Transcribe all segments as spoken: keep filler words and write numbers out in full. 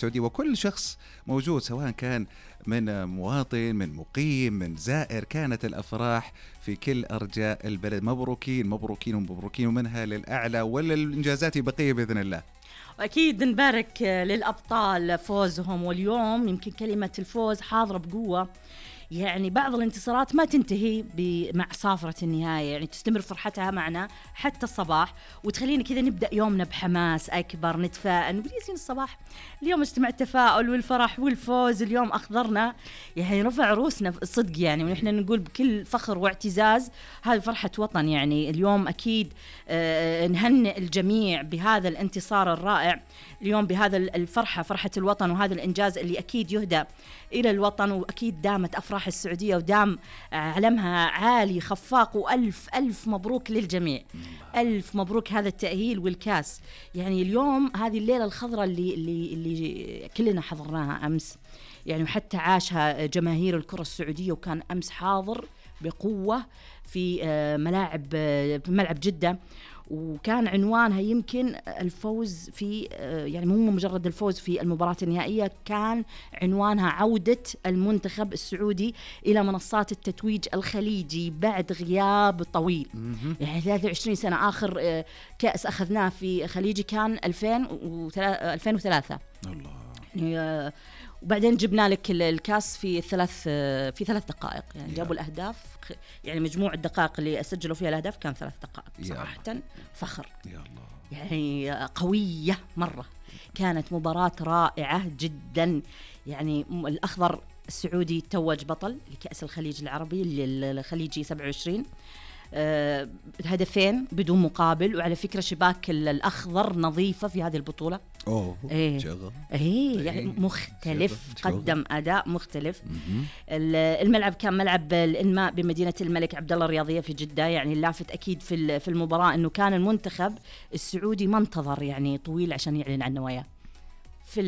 السعودية وكل شخص موجود سواء كان من مواطن من مقيم من زائر. كانت الأفراح في كل أرجاء البلد. مبروكين مبروكين ومبروكين ومنها للأعلى ولا الإنجازات بقية بإذن الله. وأكيد نبارك للأبطال فوزهم، واليوم يمكن كلمة الفوز حاضرة بقوة. يعني بعض الانتصارات ما تنتهي مع صافرة النهاية، يعني تستمر فرحتها معنا حتى الصباح، وتخلينا كذا نبدأ يومنا بحماس أكبر، نتفائل نقول ياسين الصباح اليوم اجتمع التفاؤل والفرح والفوز، اليوم أخضرنا يعني رفع روسنا الصدق يعني، ونحن نقول بكل فخر واعتزاز هذه فرحة وطن. يعني اليوم أكيد آه نهنئ الجميع بهذا الانتصار الرائع اليوم، بهذا الفرحة فرحة الوطن، وهذا الإنجاز اللي أكيد يهدى إلى الوطن، وأكيد دامت أفراح السعودية ودام علمها عالي خفاق. وألف ألف مبروك للجميع، ألف مبروك هذا التأهيل والكاس. يعني اليوم هذه الليلة الخضراء اللي, اللي, اللي كلنا حضرناها أمس يعني، وحتى عاشها جماهير الكرة السعودية، وكان أمس حاضر بقوة في ملاعب في ملعب جدة، وكان عنوانها يمكن الفوز في يعني مو مجرد الفوز في المباراة النهائية، كان عنوانها عودة المنتخب السعودي إلى منصات التتويج الخليجي بعد غياب طويل. يعني ثلاثة وعشرين سنة. آخر كأس أخذناه في خليجي كان ألفين وثلاثة. الله. يعني وبعدين جبنا لك الكاس في ثلاث في ثلاث دقائق يعني، جابوا الأهداف يعني مجموع الدقائق اللي أسجلوا فيها الأهداف كان ثلاث دقائق. صراحة فخر يا الله. يعني قوية مرة، كانت مباراة رائعة جدا. يعني الأخضر السعودي توج بطل لكأس الخليج العربي الخليجي سبعة وعشرين، أه هدفين بدون مقابل. وعلى فكرة شباك الأخضر نظيفة في هذه البطولة. أوه إيه شغل. إيه يعني مختلف، شغل. قدم أداء مختلف. الملعب كان ملعب الإنماء بمدينة الملك عبدالله الرياضية في جدة. يعني اللافت أكيد في في المباراة إنه كان المنتخب السعودي ما انتظر يعني طويل عشان يعلن عن نواياه. في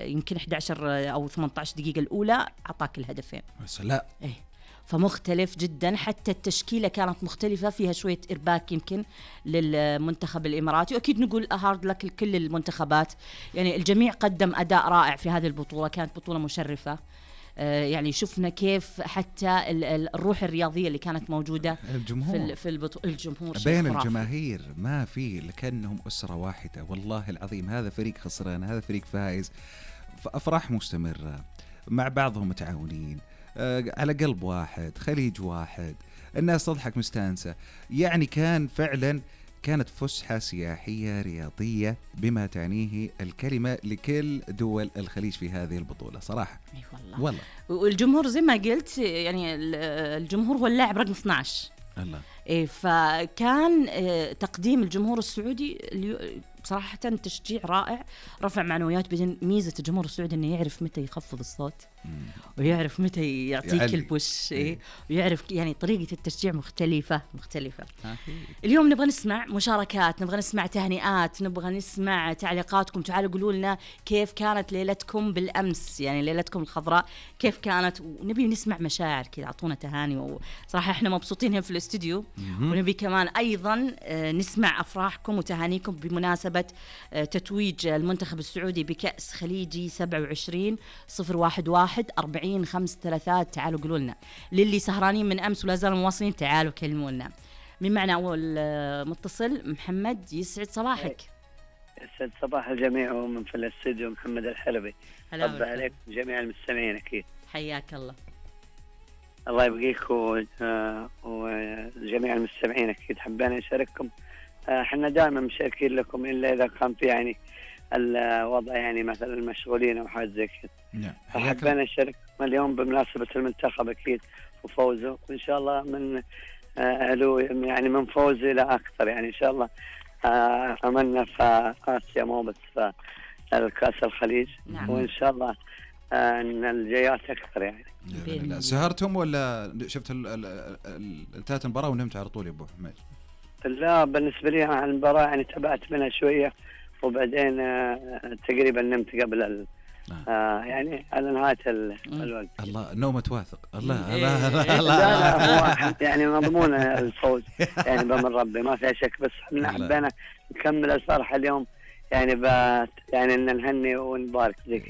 يمكن إحدى عشر أو ثمانية عشر دقيقة الأولى أعطاك الهدفين. لا إيه فمختلف جدا. حتى التشكيلة كانت مختلفة، فيها شوية إرباك يمكن للمنتخب الإماراتي، وأكيد نقول هارد لك لكل المنتخبات. يعني الجميع قدم أداء رائع في هذه البطولة، كانت بطولة مشرفة. آه يعني شفنا كيف حتى الروح الرياضية اللي كانت موجودة الجمهور في, في البطولة، الجمهور بين الجماهير ما في لكنهم أسرة واحدة. والله العظيم هذا فريق خسران هذا فريق فائز، فأفراح مستمرة مع بعضهم متعاونين على قلب واحد، خليج واحد، الناس تضحك مستانسة. يعني كان فعلا كانت فسحة سياحية رياضية بما تعنيه الكلمة لكل دول الخليج في هذه البطولة صراحة. أي والله. والله والجمهور زي ما قلت يعني الجمهور هو اللاعب رقم اثنا عشر. الله. إيه فكان تقديم الجمهور السعودي بصراحة تشجيع رائع، رفع معنويات. بدين ميزة الجمهور السعودي إنه يعرف متى يخفض الصوت مم. ويعرف متى يعطيك يعني البوش إيه؟ ويعرف يعني طريقة التشجيع مختلفة مختلفة. اليوم نبغى نسمع مشاركات، نبغى نسمع تهنئات، نبغى نسمع تعليقاتكم. تعالوا قولوا لنا كيف كانت ليلتكم بالأمس، يعني ليلتكم الخضراء كيف كانت، ونبي نسمع مشاعر كذا، أعطونا تهاني. وصراحة إحنا مبسوطين هنا في الاستوديو، ونبي كمان أيضا نسمع أفراحكم وتهانيكم بمناسبة تتويج المنتخب السعودي بكأس خليجي سبعة وعشرين صفر واحد واحد أربعين خمس ثلاثات. تعالوا قولوا لنا. للي سهرانين من أمس ولا زالوا مواصلين تعالوا كلمونا. من معنا أول متصل محمد، يسعد صباحك. يسعد صباح الجميع، ومن في الاستوديو محمد الحلبي. طب عليك جميع المستمعين أكيد. حياك الله. الله يبقيك وجميع المستمعين أكيد. حبينا نشارككم، احنا دائما مشاركين لكم الا اذا كان في يعني الوضع يعني مثلا المشغولين او حاجه زي كذا. فحبينا نشارك اليوم بمناسبه المنتخب اكيد وفوزه، وان شاء الله من علو يعني من فوز الى اكثر. يعني ان شاء الله املنا في اسيا مو بس في الكاس الخليج. نعم. وان شاء الله ان الجايات اكثر يعني. لا سهرتم ولا شفت انتهت المباراه ونمت على طول يا ابو حميد؟ لا بالنسبة لي عن المباراة يعني تابعت منها شوية، وبعدين آه تقريبا نمت قبل ال آه. آه يعني على نهاية الوقت. الله نومة واثق. الله الله الله لا هو يعني مضمون الفوز يعني بأمر ربي ما فيها شك، بس احنا حبينا نكمل الفرحة اليوم يعني بات يعني ان نهني ونبارك ذيك.